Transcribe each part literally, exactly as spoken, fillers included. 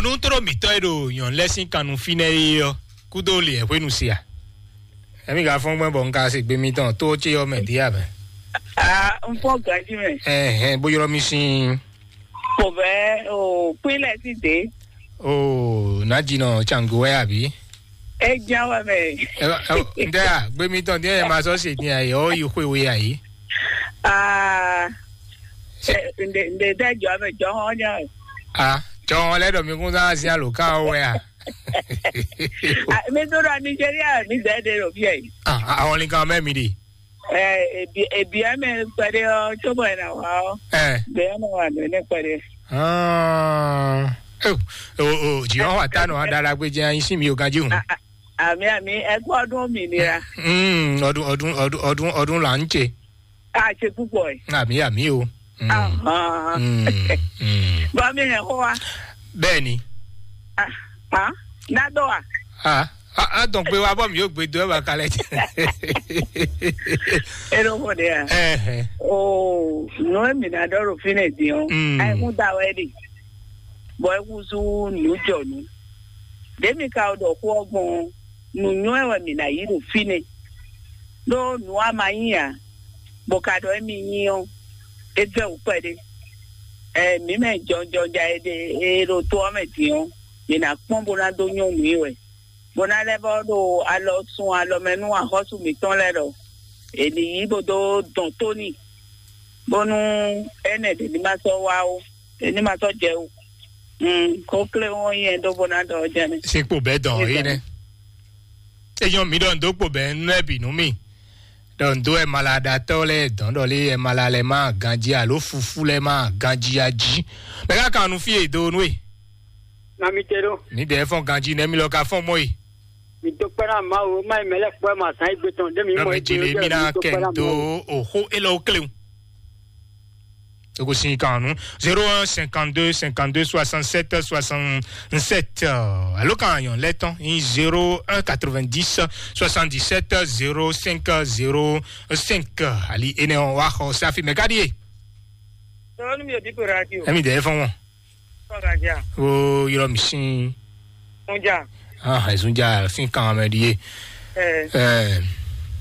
Nú tló mǐtɔn e ɖo nyɔ̌nu lɛ́ɛ sín kan nu fínɛ́ é ɔ́, kúdó lě hwenu se a? Ɛmí ka fɔ́n gbɛn bɔ un ka se gbe mitɔn tó ce ɔ́ mɛ dín abɛ? Ah, un fɔ ganji mɛ. Ɛhɛn, bó ylɔ́ mì sín. Kò bɛ o kpín lɛ sí dé. O nǎ jinɔ tsango wɛ àbí? É ján wɛ mɛ. Ntɛ a gbe mitɔn dín ɛ ma sɔ se dín ayé ɔ yi xwe we ayé. Ah, ǹdè ǹdè dɛ jɔ mɛ jɔ hɔn ján. A jɔn lɛ ɖɔ mi kún sá sí alòká ɔ́ wɛ a? Mi tó ɖɔ Nigeria mi dɛ ɖe ɖo fíɛ yi. Àwọn nìkan mẹ́ mi ɖe. Ebi mɛ kpɛɖe ɔ tso bɔ ena wa ɔ. Ɛ. Bɛ ena wa nɔ ne kpɛɖe. Ah, o o o jì wọn wà tánu aɖalágbé jẹ́ ayé sí mi ò ganjí hùn. Àmì àmì ẹgbẹ́ ọdún òmìnira. Mm, ọdún ọdún ọdún ọdún ọdún là ń ṣe. A ṣe púpọ̀ ẹ̀. Àmì àmì o. Mm. Ahàn. Mm, mm. Bá mi hẹ̀ kó wa. Bẹ́ẹ̀ ni. Ah, ah, nádọ́ wa. Ah, ah, ah, donc pé wa bọ́ mi yóò gbé dó ẹ̀ bá kalẹ̀. Eno ko de ya. Ẹ̀hẹ̀. O, nù emi na dɔ ɖo fínɛ din ɔ. Mm. Ayi kún da wɛ de. Bɔ ekusu nù jɔ nù. Ɖe mi ka ɖɔ xó ɔ́ gbɔn nù nyɔ ɛ wɛ mi na yi ɖo fínɛ. Ɖó nǔ a ma nyí ǎ, bɔ ka ɖɔ émí nyí ɔ́, é vɛ́ wǔ kpɛɖé. Ɛ mǐ mɛ jɔnjɔnja e ɖe e ɖo to ɔ́ mɛ din ɔ́, mǐ ná kpɔ́n bó ná dó nyɔ́ nǔ i wɛ, bó ná lɛ́ vɔ́ ɖo alɔ sun alɔ mɛ nú axɔ́sú mǐtɔn lɛ́ɛ ɖɔ è nǐ yí bó dó dɔn tó n'i, bónú énɛ́ ɖě ní ma sɔ́ wá ó, ɖě ní ma sɔ́ jɛ ó. Kó klé wɔn nyɛ ɖó bó ná ɖɔ jɛnɛ. Sín kpo bɛ́ dɔn é nɛ́. Enyɔ mi ɖɔ ndo kpo bɛ́ nú ɛ bǐ nú mi. Ɖɔ ndo ɛ malaɖatɔ́ lɛ́ɛ dɔn ɖɔ lé ɛ mala lɛ ma ganjí alo fufú lɛ ma ganjí a jí. Mɛ ká kan nu fí e do nú e. Na mi te ɖo. Mi dɛ fɔn ganjí nɛ mi lɔ ka fɔn mɔ e. Mi to kpɛ́ na Mawu, ma yi mɛ lɛ kpɔ́ ma zan yi gbe tɔn ɖe mi Nɔ mɔ mɛ jí le mi na kɛ do oxó élɔ́ kléwu. Togosin kan nu zéro un cinquante-deux cinquante-deux soixante-sept soixante-sept. Alo kan yɔn lɛ tɔn in zéro un quatre-vingt-dix soixante-dix-sept zéro cinq zéro cinq. Ali ene wa xɔ safi mɛ gadi ye. Sɔɔni mi yɛ dipo radio. Emi dɛ fɔn wɔn. Fɔn ka ja. O yɔrɔ mi sin. Sunja. Ah, Sunja sin kan mɛ di ye. Ɛ. Ɛ.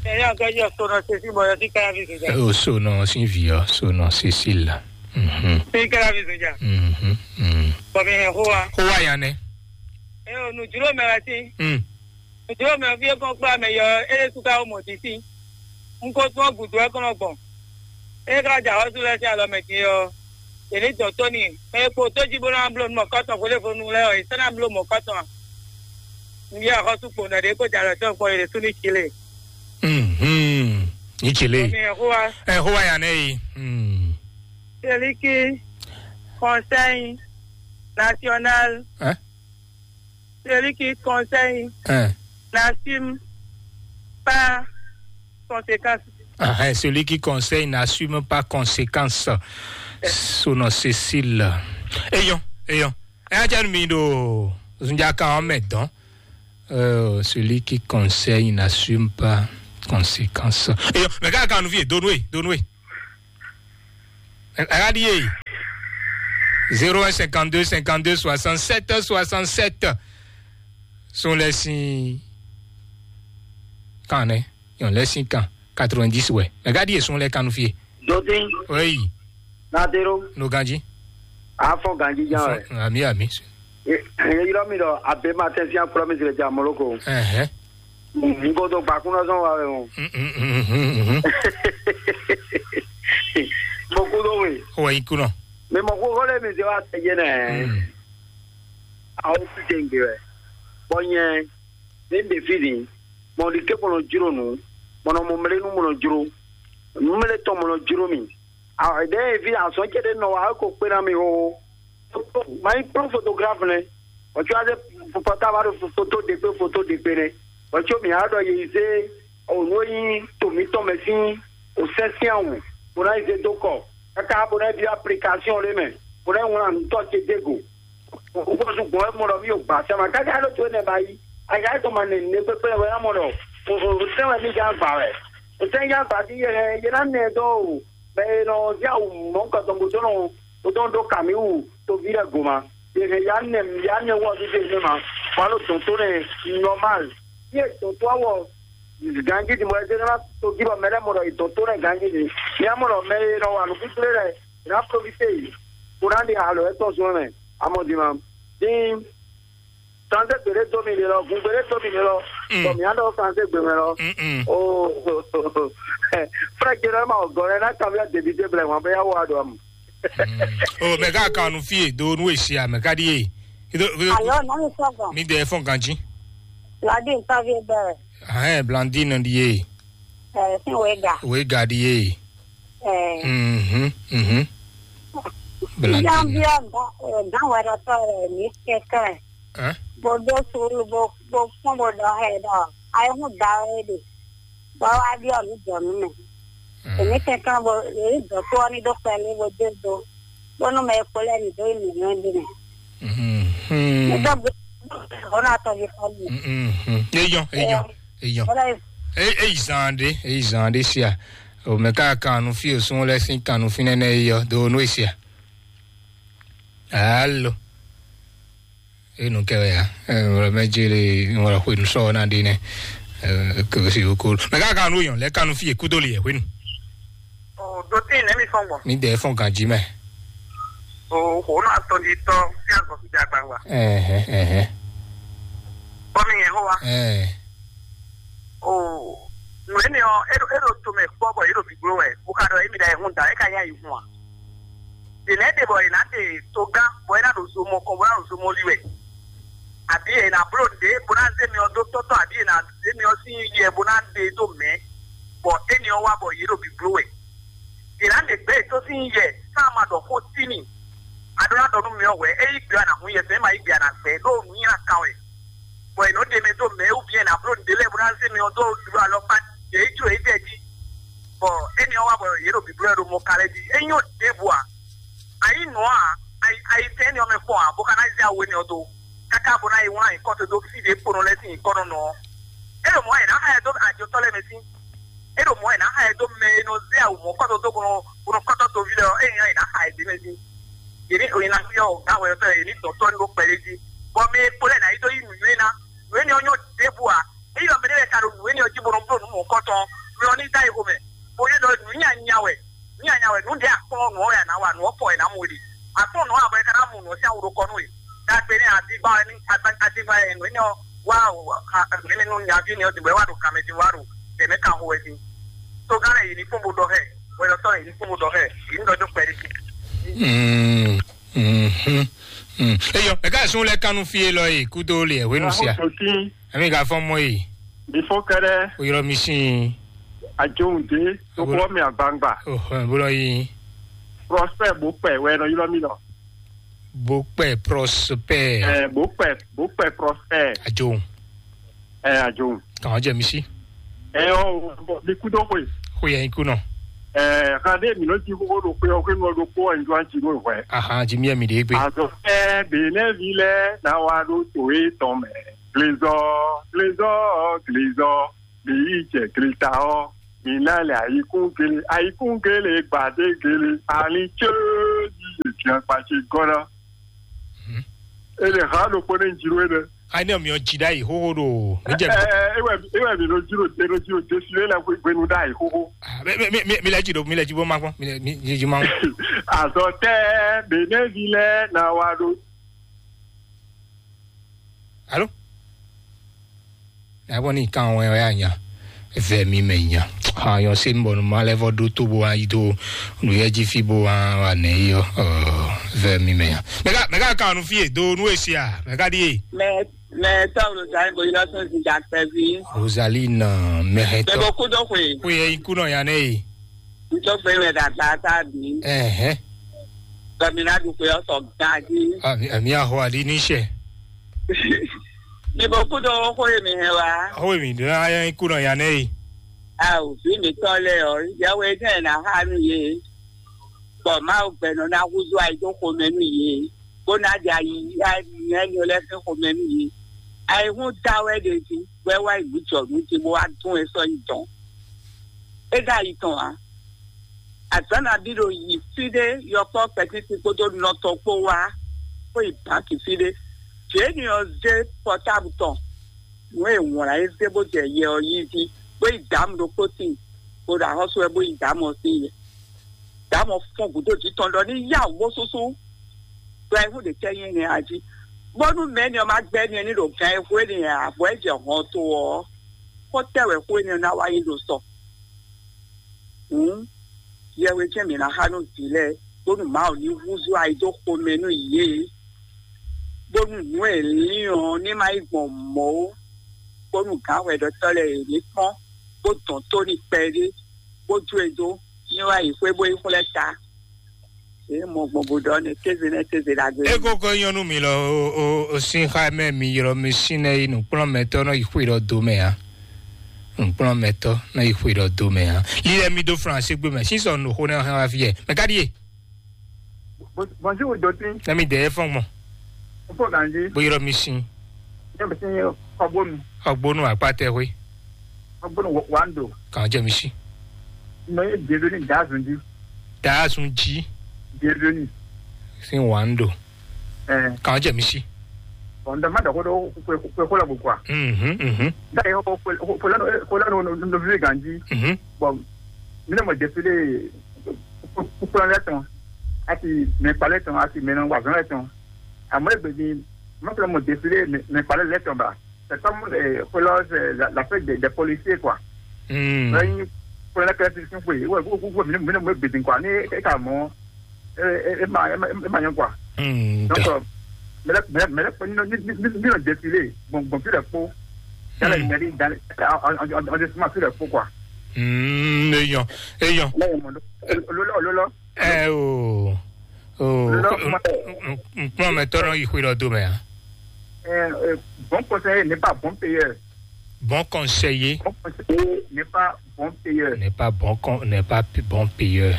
Ɛ yà kɛ jɔ sɔnà sesi bɔ yɔ sí kára fi Sunja. O sɔnà sin vi yɔ sɔnà sesi la. Mhm. Sí kára fi Sunja. Mhm. Mhm. Bɔbi hɛn xó wa. Xó wa yan nɛ. Ɛ o nùdúró mɛ wá sí. Mm. Nùdúró mɛ fi kɔn kpla mɛ yɔ ɛ suka o mɔ títí. N ko tún ɔgùdù ɛ kɔnɔ gbɔn. Ɛ ká jà xɔsú lɛ sí alɔ mɛ din ɔ. Èlé dɔn tó ni. Ɛ kpo tó jí bó ná bló nú mɔ kɔtɔn fóléfónú lɛ ɔ, ìsá ná bló mɔ kɔtɔn. N yɛ xɔsú kpo nɔ ɖě kó jà lɔ tɔn kpɔ yě sú ní tsi lé. Mhm. Ní tsi lé. Ɔmi ɛ xó wa. Ɛ xó wa yà nɛ yi. Mm. Celui qui conseille national. Hein? Celui qui conseille Hein? n'assume pas conséquence. Ah, hein, celui qui conseille n'assume pas conséquence. Sono Cécile. Eyon, eyon. Ɛ jẹ́ mi ɖo zunjaka ɔ́ mɛ dɔn. Euh, celui qui conseille n'assume pas conséquence. Eyon, mais quand quand nous vient, donne, donne. Aɖi e zéro un cinquante-deux cinquante-deux soixante-sept soixante-sept. Sun lɛ sin kan nɛ, yɔn lɛ sin kan quatre-vingt-dix wɛ. Mɛ gadi e sun lɛ kan nu fie. Dodi, Oui, na dero, no ganji. Afɔ ganji jan wɛ. Ami ami. Ye yɔrɔ mi dɔ abe ma tɛ sian promise le ja moloko. Ɛhɛ. N ko to gbakun na sɔn wa wɛ o. Mm, mm, mm, mm, mm. Mo ku do we. O wa ikunɔ. Mi mɔ kókó lé mi se wa tɛ jɛ nɛ. Mm. Awo ti se n gbe wɛ. Bɔ nyɛ ne n de fi ni. Mɔ di ke mɔ nɔ jro nu. Mɔ nɔ mɔ mlenu mɔ nɔ jro. Mle tɔn mɔ nɔ jro mi. Awo de fi azɔn cɛ de nɔ wa ko kpe na mi o. Mayi kplɔ́n fotograf nɛ, bɔ tso azɛ pɔtaba ɖo foto ɖe kpé foto ɖe kpé nɛ, bɔ tso mi a ɖɔ ye zé o nú e nyí to mǐtɔn mɛ sín o sɛ́n sín awu, bó ná yi zé dó kɔ, káká bó ná yi byɔ́ aplikasyon ɖé mɛ, bó ná yi wlán nǔtɔ́ ce dó go. Wúkɔ́sú gbɔn wɛ mɔ ɖɔ mí o gbǎ sɛ́ ma, káká ɖó to énɛ́ ba yí, aga é tɔn ma nɛ nǔɖé kpékplé wɛ ná mɔ ɖɔ o sɛ́n wɛ mí gán gbǎ wɛ. O sɛ́n gán gbǎ dín yɛ yɛ ná nɛ dó o, bɛ e nɔ zí awu mɔ̌kɔtɔn bó dó nɔ bó dó nɔ ɖó kǎmíwú toví lɛ́ɛ go ma. Yě hɛn ya nɛ ya nɛ wɔ ɖíɖe nɛ ma. Walo dɔn tó nɛ normal. Yé dɔn tó awɔ ganji di mɔ ɛdɛ na to jí bɔ mɛ lɛ mɔ ɖɔ yé dɔn tó nɛ ganji di. Ní a mɔ ɖɔ mɛ e nɔ wa nǔ kúkúlé lɛ, yě ná profité yě. Kó ná ɖi alɔ etɔn zɔn mɛ. Amɔ di ma. Din sanze gbede dó mi ɖe lɔ, gun gbede dó mi ɖe lɔ. Mm. Bɔ mi adɔ sanze gbe mɛ lɔ. Mm-mm. O frɛ jɛ lɔ ma o gɔ lɛ na kan mi a debi de blɛ wan bɛ ya wa do am. Mm. O mɛ ka kan nu fie do nu esi a mɛ ka di ye. Ido ido Alo, nani sɔgbɔn? Mi de fɔn ganji. Ladi ntavi bɛ. Ahɛn Blandine di ye. Ɛ sin wega. Wega di ye. Ɛ. Mhm. Mhm. Blandine. Bianbia dan wɛrɛtɔ rɛ mi kɛkɛ. Hein? Bó dó sùúrù bó bó fún bó ɖɔ hɛ ɖɔ ayé hún da wɛ ɖe. Bɔ wá ɖi ɔnu jɔ nú mɛ. Èmi kɛkɛ bó èyí dɔtú ɔni ɖó kpɛlí bó dé do. Bónú mɛ e kpo lɛ ní dó yi nǔnywɛ́ ɖi mɛ. Mhm. Nítorí bó ná tɔjú fún mi. Mhm. Eyɔn, eyɔn, eyɔn. Bọ́lá yìí. Eyi zan ɖe, eyi zan ɖe sia. O mɛ ka kan nu fi o sun lɛ sin kan nu fi nɛnɛ yi yɔ do nu esia. Alo. Enu kɛ wɛ ya. Wala mɛ jele wala xwe nu sɔ na ɖe nɛ. Kɛwɛ si ko. Mɛ ka kan nu yɔn lɛ kan nu fi e kudo li yɛ xwe nu. O do tin ne mi fɔn gbɔn. Mi dɛ fɔn ganji mɛ. O xo na tɔn di tɔ fi agɔ fi agba wa. Ɛhɛ ɛhɛ. Bɔ mi yɛn ho wa. Ɛɛ. O nu ene ɔ eɖo eɖo to mɛ kpɔ bɔ yeɖo gbigbló wɛ. Bo ka ɖɔ emi ɖa ehun da e ka nya yi hun a. Ɖe lɛ́ɛ ɖe bɔ è nǎ ɖe togán bɔ é ná ɖo zo mɔ kɔn bó ná ɖo zo mɔ li wɛ. Abǐ è nǎ bló nǔɖé bó ná zé myɔ dó tɔ́tɔ́ abǐ è nǎ zé myɔ sín yɛ bó ná ɖe dó mɛ̌, bɔ éni ɔ́ wá bɔ yě ɖo bǐbló wɛ. Yě ná ɖe gbɛ̌ yětɔn sín yɛ sán ma ɖɔ xó tímì. A ɖó ná ɖɔ nú myɔ wɛ, é yí gbe a nǎ hun yɛ, fɛ̌ ma yí gbe a nǎ gbɛ, ɖó nǔnywɛ́ kan wɛ. Bɔ è nɔ ɖe mɛ dó mɛ̌ wú bǐ è nǎ bló nǔɖé lɛ́ɛ bó ná zé myɔ dó ɖo alɔkpa yě jló yě jɛ jí. Bɔ éni ɔ́ wá bɔ yě ɖo bǐblɔ́ ɖo mɔ ka lɛ́ɛ jí. É nyɔ́ ɖěbǔ ǎ. A yí nǔ ɔ́ ǎ, a yi a yi tɛ́n éni ɔ́ mɛ kpɔ́n ǎ, bó ka ná zé awu énɛ́ ɔ́ dó, káká bó ná yi wlán nyǐkɔ towe dó fí ɖě kponɔ lɛ́ɛ sín nyǐkɔ nɔ nɔ ɔ́. É ɖo mɔ̌ wɛ è nǎ xa ɛ dó ajotɔ́ lɛ́ɛ mɛ sín. É ɖo mɔ̌ wɛ è nǎ xa ɛ dó mɛ e nɔ zé awu mɔ̌kɔ́tɔ́ dó bó nɔ bó nɔ kɔ́tɔ́ toví lɛ́ɛ ɔ́, é nyí ɔ́ è nǎ xa ɛ dó mɛ sín. Yě ní oyin ná fyɔ́ gǎn hwɛyɔ́tɔ́ yě ní dɔn tɔ́ ní ɖó kpɛɖé jí. Bɔ mɛ e kpo lɛ́ɛ ná yi dó yí nǔnywɛ́ ná. Nǔ énɛ́ ɔ́ nyɔ́ ɖěbǔ ǎ. Ényí ɔ́ mɛɖé lɛ́ɛ ka ɖo nǔ énɛ́ ɔ́ jí bó nɔ bló nǔ mɔ̌hunkɔtɔn ɔ́, mɛ ɔ́ ní dó ayi xomɛ, bó yɔ́ ɖɔ nǔnyanya wɛ, nǔnyanya wɛ, nǔ ɖě a kplɔ́n nǔ ɔ́ wɛ a nǎ wa, nǔ ɔ́ kɔ wɛ è nǎ mɔ we ɖe. A kplɔ́n nǔ ɔ́ ǎ bɔ è ka ná mɔ nǔ ɔ́ sín awu ɖokɔ nú we. Ɖagbe nɛ́ adígbá wɛ ní adígbá wɛ nǔ énɛ́ ɔ́ wá nǔ énɛ́ nú nyaví énɛ́ ɔ́ din bɔ é wá ɖo kanmɛ din wá ɖo tɛ̌mɛ kan xo wɛ din. Tógán lɛ́ɛ yě ní kpɔ́n bó ɖɔ xɛ, hwɛɖɔtɔ́ lɛ́ɛ yě ní kpɔ́n bó ɖɔ xɛ, yě ní ɖɔ dó kpɛɖé. Mm, mhm, mm. Eyɔ, mɛ ka sun lɛ kanu fie lɔ yi kudo le hwenu sia. Ami ka fɔn mɔ yi. Mi fɔ kɛɖɛ. O yɔrɔ mi sin. Ajohun de, to kɔ mi agbangba. Oh, bolo yi. Prospect bo pɛ wɛ nɔ yɔrɔ mi nɔ. Bo pɛ Prospect. Eh, bo pɛ bo pɛ Prospect. Ajohun. Eh, ajohun. Kàn jẹ mi sí. Eh, oh, mi kudo koyi. Koyi yẹn kunɔ. Eh, kan de mi nɔ ji koko do koyi o koyi nɔ do ko en juan ji do wɛ. Aha, ji mi mi de gbe. Azɔ fɛ Benɛvi lɛ na wa do to e tɔn mɛ. Glezɔ, glezɔ, glezɔ. Mi yi jɛ gleta ɔ, mi na le ayikun gele, ayikun gele gbade gele, ali tse yi ye fian kpatsi gɔna. Ele ha ɖokpó ne jiro ene. Ayi ne mi ɔ dzi ɖe ayi xoxo ɖo mi jɛ. Ewɛ ewɛ mi ɖo jiro de ɖo jiro de si lɛ hwenu ɖe ayi xoxo. Mi mi mi mi lɛ dzi ɖo mi lɛ dzi bɔ ma kpɔn mi lɛ mi dzi dzi ma kpɔn. Azɔ tɛ Benɛvi lɛ na wa ɖo. Alo. Nabɔ ni kan wɛ ya nya. Vɛ mi mɛ nya. Ha yɔ se mbɔ ma lɛ vɔ ɖo to bo ayi to nu yɛ dzi fi bo wa wa nɛ yi yɔ. Vɛ mi mɛ nya. Mɛ ka mɛ ka kan nu fie do nu esi a mɛ ka di ye. Mɛ mɛ tɔwlo zan bo yɔ sɔn si ja kpɛvi. Rosaline mɛ hɛ tɔ. Mɛ bo kudo koe. Koe yɛ iku nɔ ya nɛ ye. N tó fẹ́ rẹ̀ dàgbà sáàbì. Ẹ̀hẹ́. Tọ́mìnà dúpẹ́ ọ̀sọ̀ gan jí. Àmì àmì àhọ àdí níṣẹ́. Ní mo kú tó kó èmi hẹn wá. Ó èmi dúró ayé kú náà yá nẹ́yì. A ò bí mi tọ́ lẹ ọ̀, ìyàwó ẹgbẹ́ ẹ̀ náà há nù yé. Bọ̀ má ò gbẹ̀nà náà húzú àìdókòó mẹ́nu yé. Bó ná di ayi ayi ẹni ọlẹ́fẹ́ kò mẹ́nu yé. Àìhún dá wẹ́ de sí, wẹ́ wá ìlú jọ̀dún tí mo wá dún ẹ sọ yìí tán. É dá yìí tán wá. Àtánà bí lo yìí sí dé yọkpọ́ pẹ̀tí ti kpódó nɔtɔ kpó wá. bó yi bǎki fí ɖé. Jěni ɔ́ zé pɔtábu tɔn, nǔ e wlǎn é zé bó jɛ yɛ ɔ́ yí jí, bó yi dǎmu ɖokpó tíin, bó ɖo axɔ́sú wɛ bó yi dǎmu ɔ́ sín yɛ. Dǎmu ɔ́ fɔ́n gǔdo jǐ tɔn ɖɔ ní yá wǔ bó súsú. Ɖɔ ayihún ɖě tɛ́ nyí énɛ́ a jí? Bónú mɛ̌ni ɔ́ má gbɛ́ ni ní ɖo gan e hwé ni ǎ, bɔ é jɛ hɔn to ɔ́, xó tɛ́ wɛ xó énɛ́ ná wá nyí ɖo sɔ? Hǔn, yɛhwe jɛ́n mǐ ná xa nú vǐ lɛ́ɛ, bónú Mawu ní húzú ayi dó xomɛ nú yě, bónú nǔ e lín ɔ́ ní má yi gbɔn mɔ̌ ó, bónú gǎnhwɛɖɔtɔ́ lɛ́ɛ yě ní kpɔ́n, bó dɔn tó n'i kpɛɖé, bó jó e dó, ní wá yi xwé bó yi xwlɛ́ ta. Yě mɔ gbɔn bó ɖɔ nɛ kéze nɛ́ kéze ɖagbe. Ego ko nyɔnu mi lɔ o o o sin xa mɛ mi ylɔ mi sin nɛ yi nukplɔn mɛtɔ nɔ yi xwe ɖɔ do mɛ a. Nukplɔn mɛtɔ nɔ yi xwe ɖɔ do mɛ a. Li lɛ mi do flan se gbe mɛ sinsɔ no xo nɛ hɛn wa fi yɛ mɛ ka ɖie. Bonjour Dotin. Nɛ mi dɛ fɔn gbɔn. Fo ganji. Bo ylɔ mi sin. Ne mi sin kɔbonu. Ɔgbonu akpatɛ xwe. Kɔbonu wando. Kàn jẹ mi si. Nɔ ye bienvenue dazun di. Dazun ji. Bienvenue. Sin wando. Eh. Kàn jẹ mi si. Bon, ndo ma dako do kwe kwe kwe la kwa. Mhm mhm. Da yo ko ko la no no vi ganji. Mhm. Bon, mi ne mo défilé kúkúrú lɛ tɔn, àti mɛ kpalẹ tɔn, àti mɛ nɔ wazɔn lɛ tɔn. Àmọ́ ègbè ni, mọ́tò mo défilé mɛ kpalẹ lɛ tɔn ba. C'est comme euh, pour la, la, la fête des, des policiers, quoi. Hmm. Lẹ́yìn fúnra kẹ́sì sí pé wọ́n gbogbo mi mi mi gbèdín, quoi, ní ẹ kà mọ́ ẹ ẹ ẹ máa ẹ máa yẹn, quoi. Hmm, Donc da. Euh, mẹlẹ mẹlẹ mẹlẹ pé nínú nínú nínú défilé gbọ̀ngbọ̀n fi rẹ̀ kpó yálà Hmm. Ìgbẹ́ni ìdáni ọ̀dẹ sima fi rẹ̀ kpó, quoi. Hmm, èèyàn èèyàn. Lẹ́yìn mọ̀ lọ́lọ́ lọ́lọ́. Ẹ o o Lọ́lọ́ mọ̀. Nkpɔn mɛ tɔrɔ yi xwe lɔ do mɛ a. Euh, euh, bon conseiller n'est pas bon payeur. Bon conseiller Bon conseiller n'est pas bon payeur. N'est pas bon con n'est pas p- bon payeur.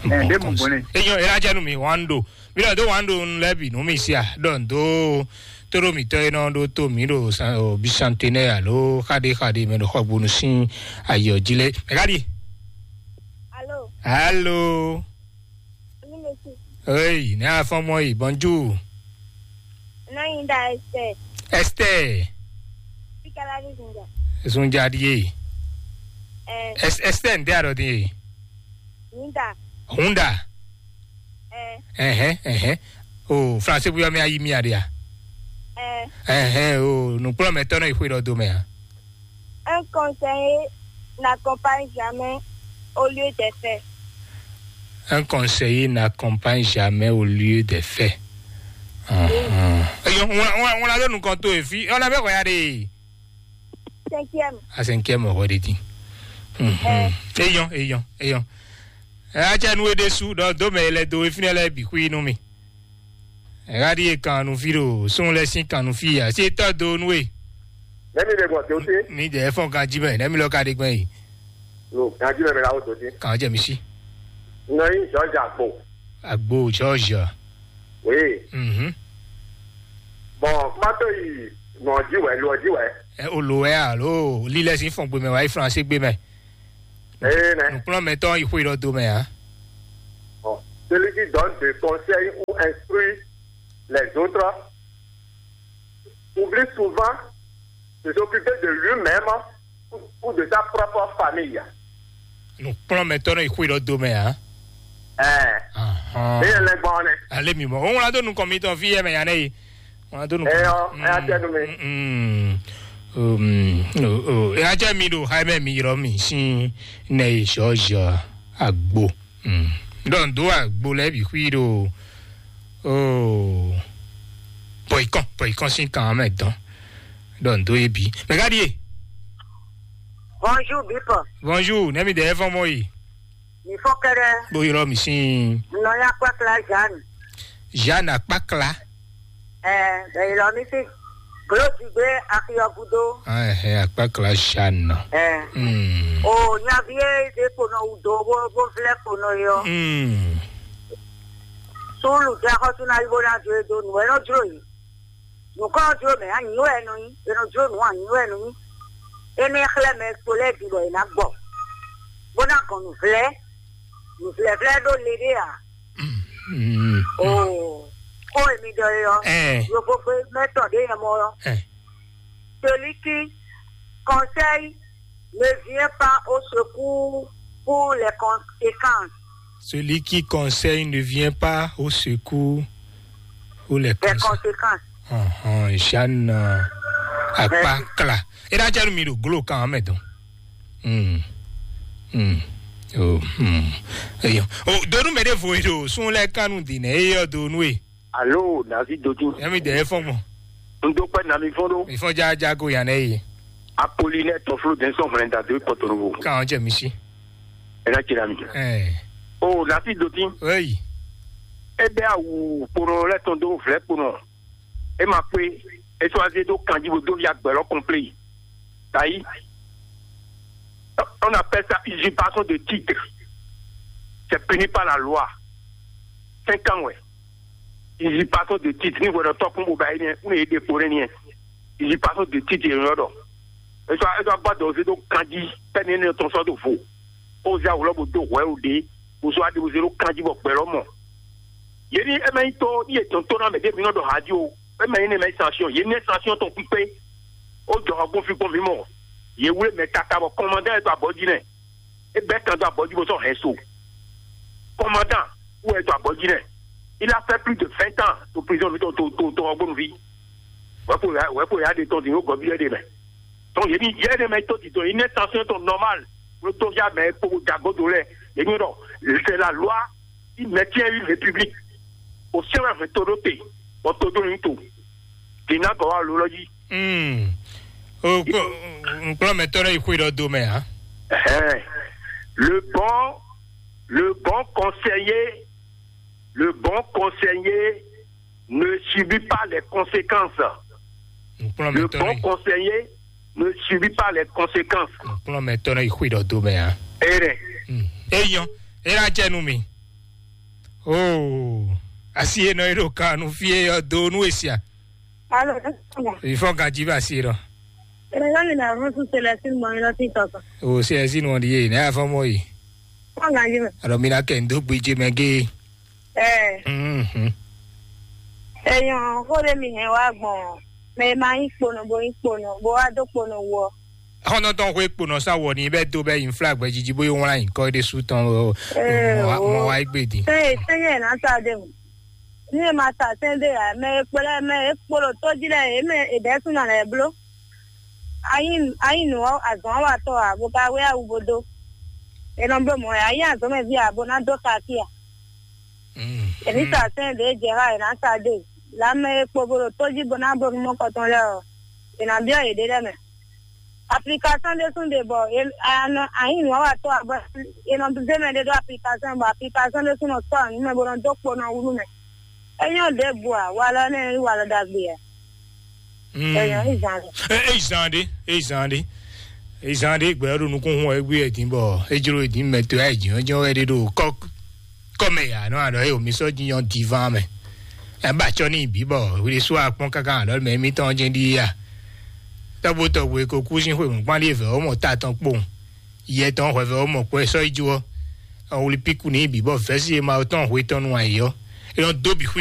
Eh, Bon de mon conseiller bonnet. Eyɔn ela jɛ nu mi wan do mi lɔ do wan do nu lɛ bi nu mi sia dɔn do toro mi tɔ enɔ do to mi do san o bisantenɛ alo xaɖe xaɖe mɛ do xɔ gbonu sin ayɔ ji lɛ mɛ ka di. Alo, Alo. Alo, monsieur. Hey, ne afɔ mɔ yi bonjour. Nɔ yin da Esther. Esther. Pikala ni zunga. Zunja di ye. Eh, Es- Esther nde arɔ di ye. Ninda. Hunda. Eh, Ɛhɛn ɛhɛn. O français bu yɔ mi ayi mi aɖe a. Eh, Ɛhɛn o nukplɔmɛtɔ nɔ yi xwe ɖɔ do mɛ a. Un conseiller n'accompagne jamais au lieu des faits. Un conseiller n'accompagne jamais au lieu des faits. Eyɔn ŋun la ɖo nukɔn to efi ɔn abɛ xɔya ɖe. Cinquième. A cinquième xɔ ɖe din. Eyɔn eyɔn eyɔn. Atsɛ nu e ɖe su ɖɔ do mɛ e lɛ do efi nɛ lɛ bi xwi nú mi. Ɣaɖi e kan nu fi ɖo sun lɛ sín kan nu fi a si tɔ do nu e. Nɛmi ɖe gbɔn do te. Mi jɛ fɔn kan jí mɛ nɛmi lɔ ka ɖe gbɛn yi. Lo kan jí mɛ mi la wo do te. Kan jɛ mi si. Nɔ yi George Agbo. Agbo George. Oui. Mhm. Bon kuma to yi nɔ ji wɛ lo ji wɛ. Ɛ o lo wɛ alo lilɛ si fɔn gbe mɛ wa yi France gbe mɛ. Ee nɛ. Nukplɔn mɛ tɔn yi xwe lɔ do mɛ a. Bon, celui qui donne des conseils ou instruit les autres oublie souvent de s'occuper de lui-même ou, ou de sa propre famille. Nukplɔn mɛ tɔn yi xwe lɔ do mɛ a. Ɛɛ. Ahɔn. Eye lɛ gbɔn nɛ. Ale mi mɔ. Òun la do nukɔn mi tɔn fi yɛ mɛ ya nɛ yi. Wọn do nukɔn. Eyɔ, eya tɛ nu mi. Mm. Um, o o eya tɛ mi do ha mɛ mi yɔrɔ mi sin nɛ yi sɔ zɔ agbo. Ɖɔ n do agbo lɛ bi xwi ɖo o bɔyikɔn bɔyikɔn sín kan mɛ dɔn ɖɔ n do ye bi mɛ ka ɖie. Bonjour Bipɔ. Bonjour nɛ mi dɛ fɔn mɔ yi. Mi fɔ kɛɖɛ. Bo ylɔ mi sín. Nɔ ya kpakla Jeanne. Jeanne akpakla. Ɛɛ bɛ ylɔ mi sín. Glo ti gbé axi ɔ́ gúdo. Ɛhɛn akpakla Jeanne. Ɛɛ. Hmm. O nyavi e ɖe kponɔ wú do bó bó vlɛ kponɔ yi ɔ́. Hmm. Súnnu jɛ xɔsúnayíbó ná jó e dó nǔ wɛ nɔ jló yìí. Nǔkɔ ɔ́ jló mɛ anyi wɛ nɔ nyí, è nɔ jló nǔ anyi wɛ nɔ nyí. Énɛ́ xlɛ́ mɛ kpo lɛ́ɛ bǐ bɔ è nǎ gbɔ, bó ná gɔn nǔvlɛ́, nǔvlɛ́vlɛ́ ɖó le ɖé ǎ. Mm. Oo. Kó èmi ɖɔ é ɔ́, Ɛɛ. Yovogbe mɛtɔn ɖé yɛ mɔ ɔ́. Ɛɛ. Celui qui conseille ne vient pas au secours pour les conséquences. Celui qui conseille ne vient pas au secours pour les Les conséquences. Conséquences. Ɔhɔn, Jeanne, euh, Akpakla. E ɖa jɛ nu mi ɖo glo kan mɛ dɔn. Hmm. Hmm. Oh, hmm. Eyo. Oh, donu mɛ ɖe vo ɖo sun lɛ kanu di nɛ eyɔ donu e. Alo, David Dodin. Yẹmi dɛ efɔn gbɔn. N dó pẹ́ na mi fɔn ɖó. Ìfɔn jaja go yan nɛ ye. Apolinɛ tɔflo dɛnsɔn hwlɛnda dó kɔtɔnɔvo. Kan jɛ mi si. Ena tira mi. Ɛɛ. O, David Dodin. Eyi. E bɛ awu kponɔ lɛ tɔn dó vlɛ kponɔ. E ma kpé. E sɔ aze dó kanji bo dó ya gbɛlɔ kɔnplé. Tayi. On appelle ça usurpation de titre. C'est puni par la loi. Cinq ans, ouais. Usurpation de titre, ní hwɛɖɔ tɔ́ kún bó ba é nɛ́, un e ɖe kpo nɛ́ nɛ́. Usurpation de titre, yě nɔ ɖɔ. Etsɔ etsɔ agbá dɔ̌ zé ɖó kanjí, tɛ́ ní énɛ́ tɔn sɔ́ ɖo vo. Ó zé awu lɔ bó dó hwɛ o ɖě, bó sɔ́ aɖe bó zé ɖó kanjí bɔ gbɛ lɔ mɔ. Yě ní é mɛ nyí tó, ní yě tɔn tó ná mɛ ɖé mi nɔ ɖɔ há jí o. É mɛ nyí ní mɛ nyí sanction, yě ní sanction tɔn kpíkpé. Ó jɔ hɔ gbɔn fi gbɔn mǐ mɔ. Yě wlé mɛ káká bɔ kɔmandá yɛ tɔn abɔ́ jí nɛ. É bɛ́ kan dó abɔ̌ jí bó sɔ́ hɛn so. Commandant, où est ton abɔ̌ jí nɛ́? Il a fait plus de vingt ans to prison mi to to to to ɔgbónu ví. Wɛpo ya wɛpo ya de tɔn di yóò gɔbi yɛ de mɛ. Donc yémi yɛ de mɛ to di tɔn yi ne tension tɔn normal. Lo to ya mɛ kpo dagodo lɛ. Yémi dɔ c'est la loi qui maintient une république. O sɛbɛn fɛ to ɖo te, bɔ to ɖo yin to. Dina gɔ wa lo lɔ jí. Hmm. O kplɔ́mɛtɔ́ lɛ́ yi xwé ɖɔ do mɛ ǎ. Ɛhɛn. Le bon, le bon conseiller, le bon conseiller ne subit pas les conséquences. Le bon conseiller ne subit pas les conséquences. Kplɔ́mɛtɔ́ lɛ́ yi xwé ɖɔ do mɛ ǎ. Ere. Hmm. Eyɔn, era jɛ nu mi. Oh, asi e nɔ e ɖo kan nu fie ɔ́ do nu e sia. Alo, ìfɔ́n ganjí bá sí rɔ. Ere yɔ ni na fún sún Celestine mɔ yín lọ sí tɔkọ. O Celestine wọn di ye ne afɔ mɔ yi. Fɔ́n ganjí mɛ. Alɔ mi na kɛ n dó gbedze mɛ gé. Ɛ. Mhm. Eyɔn kó ɖe mi hɛn wá gbɔn. Mɛ ma yín kponɔ bo yín kponɔ bo wá dó kponɔ wɔ. Xɔnɔtɔn xwe kponɔ sa wɔ ni bɛ do bɛ yin fla gbɛjiji bo yi wlan yin kɔ ɖe su tɔn o. Mɔ wa egbe di. Sɛnyɛ sɛnyɛ na sa de mu. Ní ẹ máa tà sɛ́n dé ǎ, mɛ e kplá mɛ e kpo ɖo tó jí lɛ́ɛ, yě mɛ è bɛ́ súnɔ lɛ́ɛ bló. Ayí ayí nǔ ɔ́, azɔ̌n ɔ́ wa tɔ́ ǎ, bó ka wé awu bó dó. È nɔ bló mɔ̌ ǎ, ayí azɔ̌mɛví ǎ, bó ná dó kakí ǎ. Èmi sa sɛ́n ɖě jɛ xá è nǎ sa dé. Lǎmɛ e kpo bó ɖo tó jí bó ná bló nú mɔkɔ tɔn lɛ́ɛ ɔ́, è nǎ byɔ́ yěɖée lɛ́ɛ mɛ. Application ɖé sún ɖe bɔ è nɔ ayí nǔ ɔ́ wa tɔ́ ǎ, bɔ è nɔ zé mɛ ɖé ɖó application bɔ application ɖé sún nɔ sɔ́ nǔ mɛ bó nɔ dó kpo nɔ wú nú mɛ. É nyɔ́ ɖěbǔ ǎ, walɔ énɛ́ nyí walɔ ɖagbe ǎ. Mm. É nyɔ́, é zán ɖé. É, é zán ɖé, é zán ɖé. É zán ɖé gbɛ ɔ́ ɖo nukún hun ɔ, é gbé ɛ dín bɔ é jló é dín mɛ to ɛ jǐnjɔ́n wɛ ɖé ɖo kɔ́ kɔ́ mɛ ya nɔ aɖɔ é omi sɔ́ jínjɔ́n divan mɛ. Ɛ ba acɔ ní bǐ bɔ hwi ɖésú akpɔ́n káká aɖɔ mɛ émítɔn jɛ́n ɖíe a. Tɔ́gbó tɔgbo e ko kú sín xwe mɔ̌kpán ɖíe vɛ̌ ó mɔ ta tɔn kpowun. Yɛ tɔn hwɛvɛ ó mɔ kpɔ́ ɛ sɔ́ yi jó ɔ́. Ɔn wlí píkú ní bǐ bɔ vɛ̌si e ma tɔn hwe tɔn nu ayǐ ɔ́. É nɔ dó bǐ xwí